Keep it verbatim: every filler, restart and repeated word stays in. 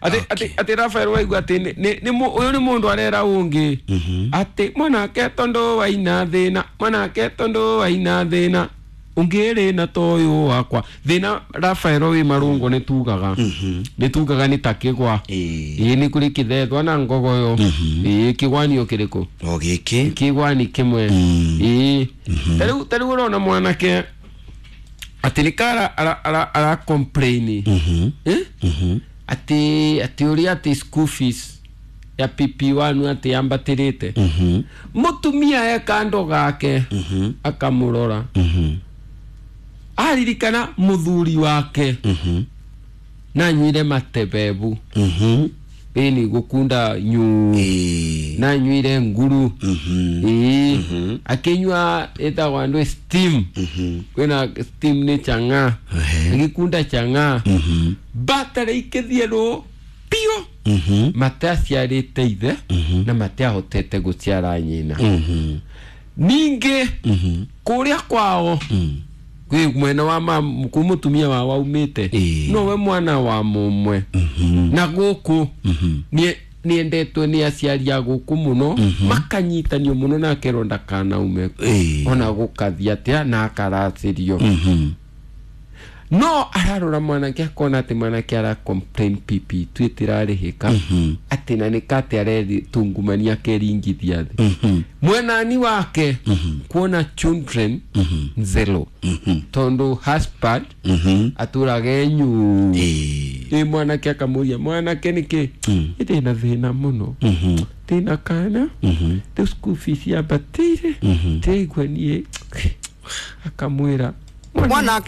Ati ati ati Rafael waigua ati ni ni uyu ni mundu arera ungi ati mwanake tondu waina thina mwanake tondu waina thina ungiri na toyo wakwa thina. Rafael wi marungo ni tugaga ni tugaga ni takigwa ii ni kuri kithethwa na ngogoyo ii kigwanio kiriku o giki kigwani kimwe ii tariu tariu urona mwanake ati ni kara ara ara ara complain eh ati ati uria ati school fees ya P P one ati ambatirite mutumia e kando gake akamurora aririkana muthuri wake na nywire matebebu ini gukunda nyu na nywire nguru ii akinywa etagwa andu steam kwina steam ni changa agikunda changa batare ikithie pio mataciarite ithe na matiahotete guciara nyina ningi kuria kwao kwi mwena wa ma kumutumia wa waumite nowe mwana wa mumwe na guku ni niendetwe ni aciari a guku muno makanyitanio muno na akerwo ndakanaume ona gukathia atia na akaracirio no ararora mwanake akona ati mwanake ara complain P P twitirarihika ati na nikate areri tungumania keringithia thi mwenani wake kuona children zero tondu husband aturage nyu ni mwanake akamuria mwanake niki indi na thina muno thina kana the school fees yabatire tegwa nie akamwira mwanake.